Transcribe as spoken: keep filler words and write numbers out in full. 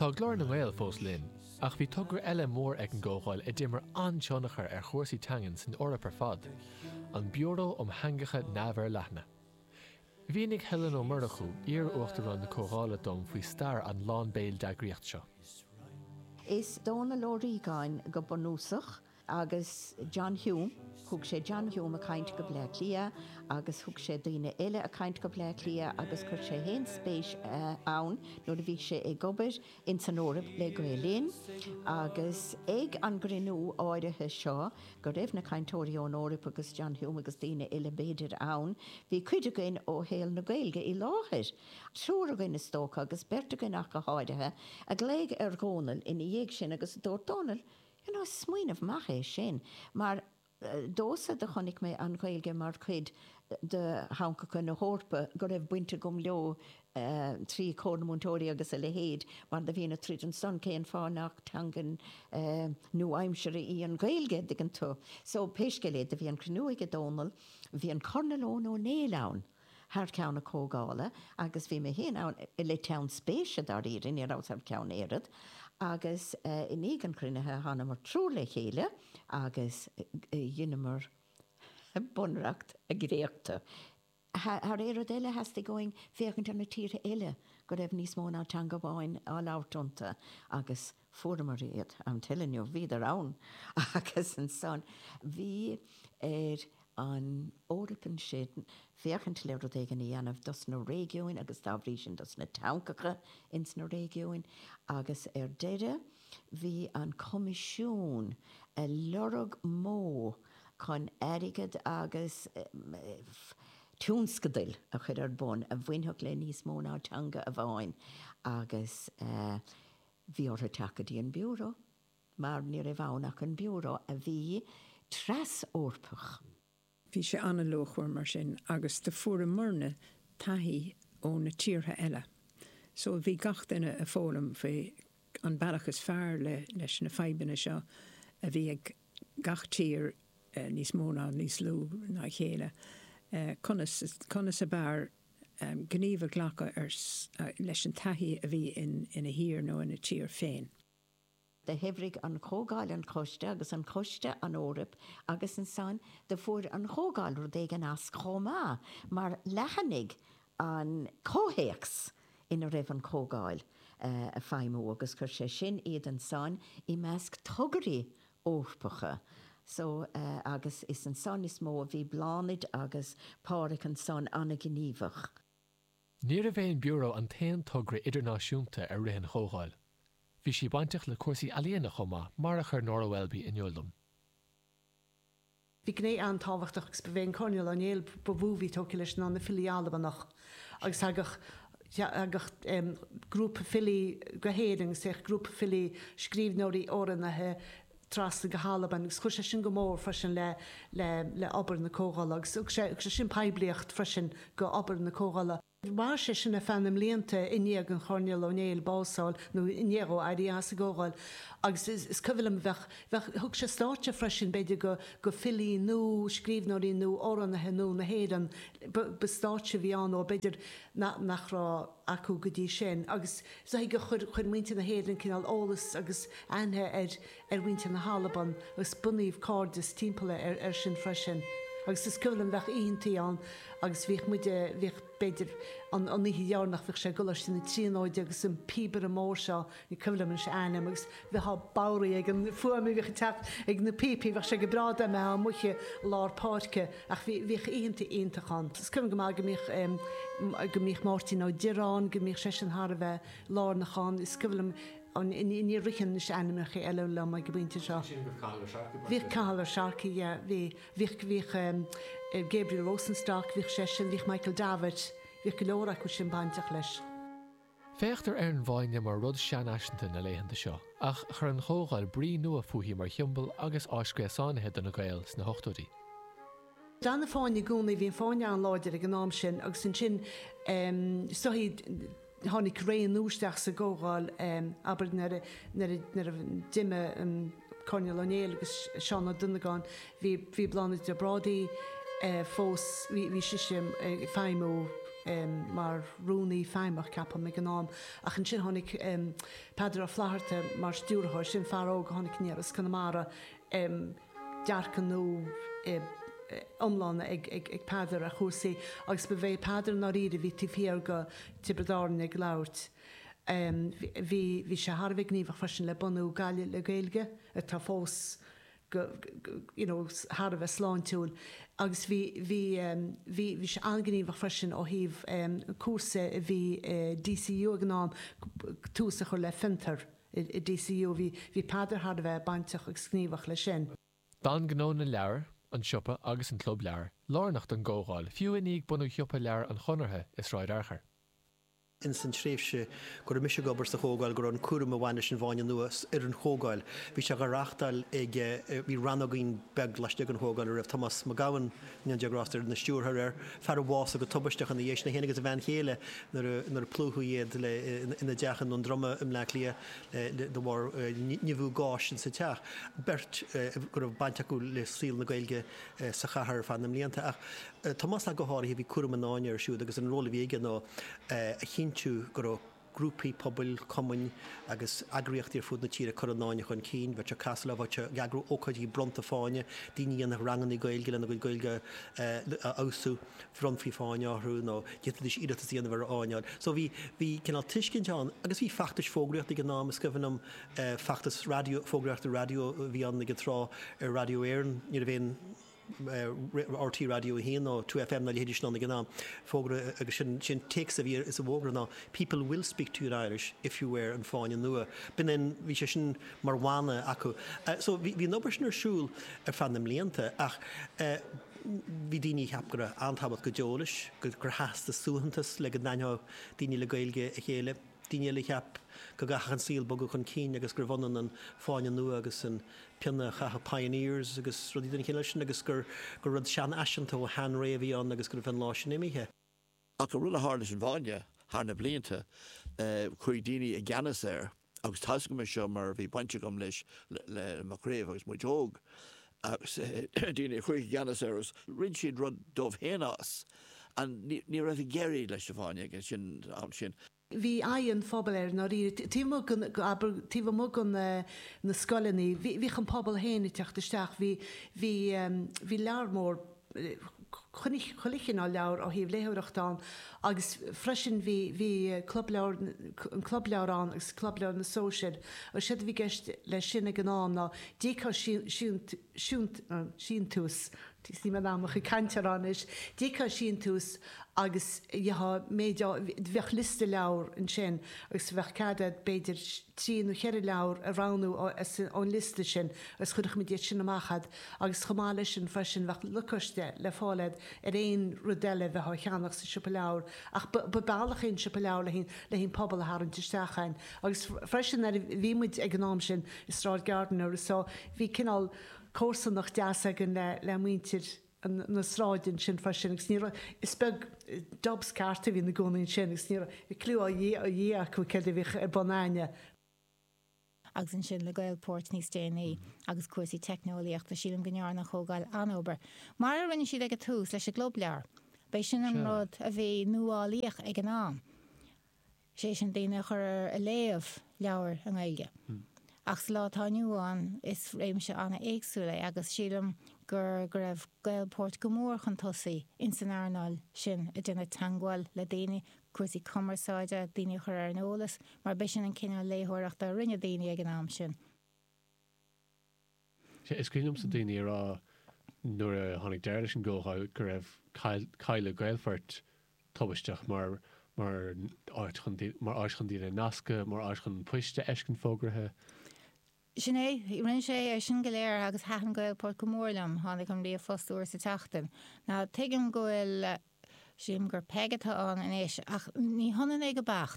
Tá Glór na nGael fós linn, ach bhí togra eile mór ag an gComhdháil a d'imir an-tionchar ar chúrsaí teangan san Eoraip ar fad, an Biúró um Theangacha Neamhfhorleathana. Mhínigh Helen Ó Murchú iar-uachtarán na Comhdhála dom faoi stair an lán béil d'eagraíocht seo. Is Dónal Ó Riagáin go bunúsach agus John Hume, thug sé John Hume ag caint go Bleá Cliath agus thug sé daoine eile ag caint go Bleá Cliath agus chuir sé féin spéis ann nuair a bhí sé ag obair in san Eoraip le Gael Linn agus ag an gcruinniú áirithe seo go raibh na cainteoirí ón Eoraip agus John Hume agus daoine eile b'fhéidir ann, bhí cuid againn ó shaol na Gaeilge i láthair. Triúr againn is dócha agus beirt againn ach go háirithe, a ghlaoigh ar Dhónal ina dhiaidh sin agus dúirt Dónal, you know, smaoineamh maith é sin, mar domhsa do chonaic mé an Ghaeilge mar chuid de theangacha na hEorpa go raibh baint agam leo trí Chomhar na Múinteoirí agus a leithéid, mar do bhínn ag troid ansan cén fáth nach teanga nua-aimseartha í an Ghaeilge, an dtuigeann tú. So pé scéal é, do bhí an cruinniú ag Dónal, bhí an Coirnéal Eoin Ó Néill ann thar ceann na Comhdhála agus bhí mé féin ann le teann spéise dáiríre, ní rabhas thar ceann oiread, agus i ndiaidh an chruinnithe thánamar triúr le chéile agus dheineamar bunreacht a dhréachtadh. Thar aon rud eile theastaigh uainn féachaint ar na tíortha eile go raibh níos mó ná teanga amháin á labhairt iontu agus fuaireamar iad, I'm telling you, bhíodar ann agus ansan bhí ar an Eoraip ansin féachaint le rud éigin a dhéanamh dos na réigiúin agus dá bhrí sin dos na teangacha ins na réigiúin agus ar deireadh bhí an Coimisiún ag lorg modh chun airgead agus tionscadail a chur ar bun a bhainfeadh le níos mó ná teanga amháin agus bhí orthu teacht go dtí an Biúró mar ní raibh ann ach an Biúró a bhí tras-Eorpach. Bhí sé an-luachmhar mar sin agus do fuaireamarna taithí ó na tíortha eile. So bhí gach duine ag foghlaim faoi an bealach is fearr le leis na fadhbanna seo a bhí ag gach tír eh, níos mó ná níos lú ná a chéile. Eh, conas conas ab fhearr um, gníomh a ghlacadh ar uh, leis an taithí a bhí in, ina thír nó ina tír féin. Do shaibhrigh an Chomhdháil an coiste agus an coiste an Eoraip agus ansan do fuair an Chomhdháil rud éigin as chomh maith mar leathnaigh an comhthéacs ina raibh an Chomhdháil ag feidhmiú agus chuir sé sin iad ansan i measc tograí Eorpacha. So uh, agus is ansan is mó a bhí Bláthnaid agus Pádraig ansan an-ghníomhach. Níorbh é an Biúró an t-aon togra idirnáisiúnta a rith an Chomhdháil. Bhí sí bainteach le cúrsaí ealaíona chomh maith mar a chuir Nora Welby in iúl dom. Bhí gné an-tábhachtach agus ba é an Coirnéal Ó Néill ba mhó a bhí tógtha leis ná na filí Albanach agus thagadh thagadh um, grúpa filí go hÉirinn agus théadh grúpa filí scríbhneoirí amhránaithe trasna go hAlbain agus chuir sé sin go mór freisin le le le obair na Comhdhála agus thug sé sé sin poiblíocht freisin go obair na Comhdhála. Mhair sé sin ar feadh na mblianta i ndiaidh an Choirnéil Ó Néill bás a fháil nó i ndiaidh dó éirí as an gComhdháil agus is, is cuimhin liom bheadh bheadh thug sé stáitse freisin b'fhéidir go go filí nó scríbhneoirí nó amhránaithe nó na hÉireann ba stáitse a bhí ann ó b'fhéidir nach raibh acu go dtí sin agus so go chuir chuir muintir na hÉireann cineál eolas agus aithne ar ar mhuintir na hAlban agus bunaíodh cairdeas timpeall ar ar sin freisin. Agus is cuimhin liom bheadh oícheantaí ann agus bhíodh muide bhíodh b'fhéidir an an oíche dheireanach bhíodh sé i gColáiste na Tríonóide agus an píobaire mór seo ní cuimhin liom anois a ainm agus bheifeá bodhraithe ag an fuaim a bhíodh ag teacht ag na píopaí bheadh sé go breá dá mbeifeá amuigh i lár páirce ach bhí bhíodh oícheanta iontach ann. Is cuimhin go maith go mbíodh go mbíodh Máirtín Ó Direáin go mbíodh seisean thar a bheith lárnach ann is cuimhin liom an ní ritheann anois ainmneacha eile liom ag an bpointe seo. Bhíodh Cathal Ó Searcaigh yeah, bhí bhíodh bhíodh um, Gabriel Rosenstock, bhíodh seisean, bhíodh Michael Davitt, bhíodh go leor acu sin bainteach leis. Féachtar ar an bhFáinne mar rud seanfhaiseanta na laethanta seo, ach chuir an Chomhdháil brí nua fúithi mar shiombail agus áis gréasánaithe do na Gaeil sna hochtóidí. D'fhan an Fáinne i gcónaí bhí an Fáinne an-láidir ag an am sin agus ansin um, soithí tháinig ré nua isteach sa gComhdháil um, abair nuair a nuair a nuair a d'imigh um, Coirnéal Ó Néill agus Seán Ó Duinneagáin bhí bhí Bláthnaid de Brádaigh uh, fós bhí bhí sise ag feidhmiú mar rúnaí feidhmeach ceapaim ag an am ach ansin tháinig Peadar Ó Flatharta mar stiúrthóir sin fear óg a tháinig aniar as Conamara dearcadh nua iomlán ag ag Peadar ar chúrsaí agus ba é Peadar ndáiríre a bhí taobh thiar go Tiobraid Árann ag labhairt. Bhí bhí sé thar a bheith gníomhach freisin le bunú Gaillimh le Gaeilge atá fós go you know thar a bheith sláintiúil agus bhí bhí bhí bhí sé an-ghníomhach freisin ó thaobh cúrsa a bhí DCU ag an am tús a chur le fiontar i DCU bhí bhí Peadar thar a bheith bainteach agus gníomhach leis sin. D'fhan gnó na leabhar, an siopa agus an club leabhar lárnach don gComhdháil, fiú i ndiaidh bunú shiopa leabhar an Chonartha i Sráid Fhearchair. ins an tréimhse go raibh mise ag obair sa Chomhdháil go raibh an cúram a bhain leis an bhFáinne Nua ar an Chomhdháil. Bhí sé á reáchtáil ag bhí rannógín beag laistigh den Chomhdháil a raibh Tomás Mac Gabhann go ndéana Dia grásta air ina stiúrthóir air, fear a bhásaigh go tubaisteach ina dhiaidh sin, é féin agus a bhean chéile nuair a nuair a plúchadh iad le ina dteach i nDún Droma i mBleá Cliath de bharr nimhiú gáis insa teach. Beirt go raibh baint acu le saol na Gaeilge sa chathair ar feadh na mblianta. Ach Tomás ach go háirithe bhí cúram an Fháinne air siúd agus an ról a bhí aige ná a chinntiú go raibh grúpaí pobail, cumainn agus eagraíochtaí ar fud na tíre ag cur an Fháinne chun cinn. Bheadh sé ag casadh leo, bheadh sé ag eagrú ócáidí bronnta Fáinne, daoine a dhéanfadh ranganna Gaeilge lena gcuid Gaeilge a fheabhsú, bhronnfaí Fáinne orthu nó d'fhéadfaidís iarratas a dhéanamh ar Fháinne a fháil. So bhí, bhí cineál tuiscint ann agus bhí feachtais fógraíochta ag an am, is cuimhin liom feachtas raidió, fógraíochta raidió a bhí ann ag an tráth ar Raidió Éireann, ní raibh aon RTÉ Raidió a haon nó Two FM ná a leithéidí sin ann ag an am. Fógra agus sin sin téacs a bhí sa bhfógra ná People will speak to you in Irish if you wear an Fáinne Nua. B'in an bhí sé sin mar mhana acu. So bhí bhí an obair sin ar siúl ar feadh na mblianta ach bhí daoine a cheap go raibh an-tábhacht go deo leis, gur theastaigh suaitheantas le go n-aithneodh daoine le Gaeilge a chéile. Daoine eile a cheap go gcaithfeadh an saol bogadh chun cinn agus gurbh ionann an Fáinne Nua agus an pionna a chaitheadh pioneers agus rudaí den chineál sin agus gur gur rud seanfhaiseanta ó sheanré a bhí ann agus go raibh an lá sin imithe. Ach an rud a tharla leis an bhFáinne thar na blianta, chuaigh daoine i gceannas air agus tá's agam é seo mar bhí baint agam leis le mo chraobh agus muid óg agus daoine a chuaigh i gceannas air agus rinne siad rud dóibh féin as. And ní raibh ag éirí leis an bhFáinne ag an am sin. Bhí aghaidh an phobail air ndáiríre. Taobh amuigh den, abair, taobh amuigh den na scoileanna, bhí, bhíodh an pobal féin ag teacht isteach, bhí, bhí, bhí leabhar mór, chuile, chuile chineál leabhar ó thaobh léitheoireachta ann agus freisin bhí, bhí club leabhar, an club leabhar ann agus club leabhar na sóisear agus séard a bhí i gceist leis sin ag an am ná d'íocfá síntiús, Níl mé in ann mo chuid cainte a rá anois. D'íocfá síntiús agus gheofá méid, bheadh liosta leabhar ansin agus bheadh cead agat b'fhéidir trí nó cheithre leabhar a roghnú ón liosta sin agus chuirfeadh muid iad sin amach agat agus chomh maith leis sin freisin bheadh lacáiste le fáil agat ar aon rud eile a bheifeá a cheannach sa siopa leabhar ach ba bealach é an siopa leabhar le le an pobal a tharraingt isteach ann agus freisin nuair a bhí muid ag an am sin i Sráid Gardiner so bhí cineál comharsanacht deas againn le muintir na sráide ansin freisin agus ní raibh, is beag Dubs ceart a bhí ina gcónaí ansin agus ní raibh cliú ó Dhia acu céard a bhíodh ar bun a'inne. agus ansin le Gaelport níos déanaí agus cúrsaí teicneolaíochta, sílim go ndearna an Chomhdháil an-obair, mar a rinne siad ag an tús leis an gClub Leabhar. B'é sin an rud a bhí nuálaíoch ag an am. sé sin daoine a chur ar a léamh leabhair i nGaeilge. Ach sa lá atá inniu ann, is réimse an-éagsúil é agus sílim gur go raibh Gaelport go mór chun tosaigh ins an earnáil sin ag déanamh teagmháil le daoine, cúrsaí cumarsáide, daoine a chur ar an eolas, mar b'é sin an cineál léitheoireachta a rinne daoine ag an am sin. Sea, is cuimhin liomsa daoine ag rá nuair a tháinig deireadh leis an gComhdháil go raibh cailleadh Gaelport tubaisteach mar mar áit chun mar áit chun daoine a nascadh, mar áit chun poist a fheiscint fógraithe. Sin é, rinne sé é sin go léir agus thaitin Gaelport go mór liom, tháinig an ríomhphost uair sa tseachtain. Now tuigim go bhfuil, sílim gur Peig atá ann anois ach ní hionann é go beacht.